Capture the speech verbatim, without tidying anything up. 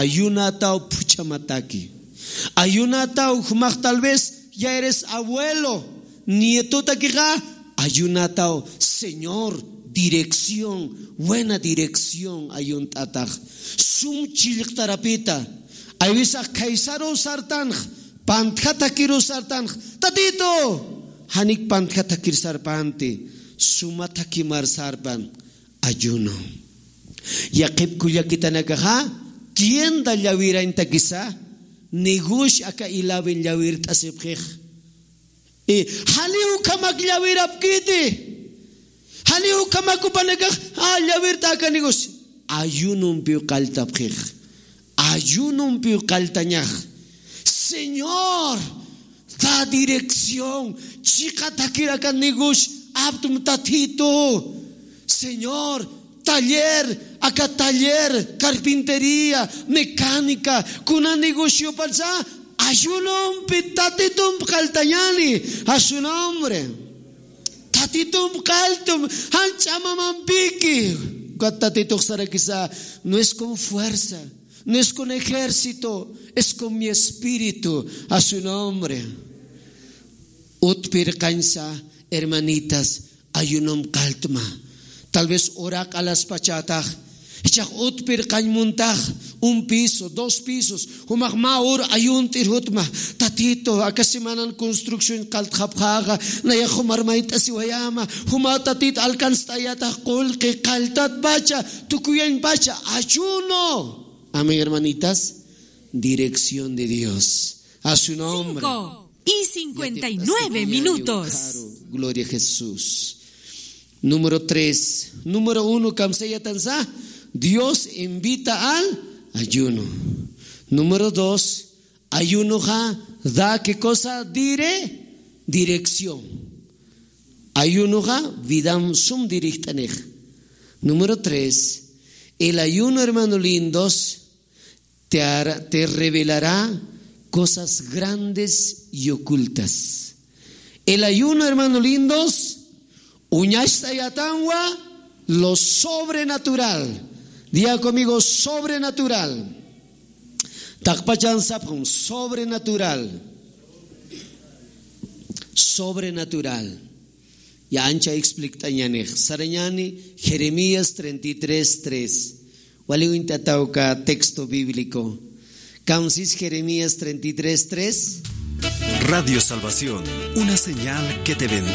Ayunataw phuchhamataki. Ayunataw jumax tal vez ya eres abuelo, nietotakixa, ayunataw, Señor, dirección, buena dirección ayunt'atax. Sum chillqtarapita. Aywisax khaysaru sartanx, pantjatakiru sartanx, Tatito, janik pantjatakir sarpanti, sumatakimar sarpan. Ayuno. Yaqhip kullakitanakaxa, tienda llawirañtakisa, negocio aka ilawin llawirt'asipxix. Y jali ukhamak llawirapkiti. Jali ukhamak jupanakax, a, llawirt'aka negocio. Ayunompiw qalltapxix. Ayunompiw qalltañax. Señor, da dirección. Chiqatakir aka negocio aptma Tatito. Señor, taller, aka taller, carpintería, mecánica, kuna negocio parsa, ayunompi Tatitump qalltañani, a su nombre. Tatitump qalltum, jan ch'amamampiki. Ukat Tatitux sarakisa, no es con fuerza, no es con ejército, es con mi espíritu, a su nombre. Utpirqañsa, hermanitas, ayunomp qalltma. Tal vez uraq alaspachätax, jichhax utpirqañ muntax, un piso, dos pisos, jumax mä ur ayunt'ir jutma, Tatito, aka semanan construcción qalltxapxäxa, nayax jumar mayt'asiwayäma, juma Tatit alcanzt'ayätax qullqi qalltatpacha, tukuyañpacha, ayuno. Amén, hermanitas. Dirección de Dios. A su nombre. Cinco y cincuenta y nueve minutos. Gloria a Jesús. Número tres. Número uno, kamsayatansa, Dios invita al ayuno. Número dos, ayunoxa da qué cosa? Dire, dirección. Ayunoxa vidam sum dirigt'anix. Número tres, el ayuno, hermano lindos, te hará, te revelará cosas grandes y ocultas. El ayuno, hermano lindos, uñacht'ayatanwa lo sobrenatural. Diga conmigo, sobrenatural. Taqpachan sapxam, sobrenatural. Sobrenatural. Ya ancha explikt'añanix. Sarañani Jeremías treinta y tres tres. Wali uñt'ataw uka texto bíblico. Kamsis Jeremías treinta y tres tres. Radio Salvación, una señal que te bendice.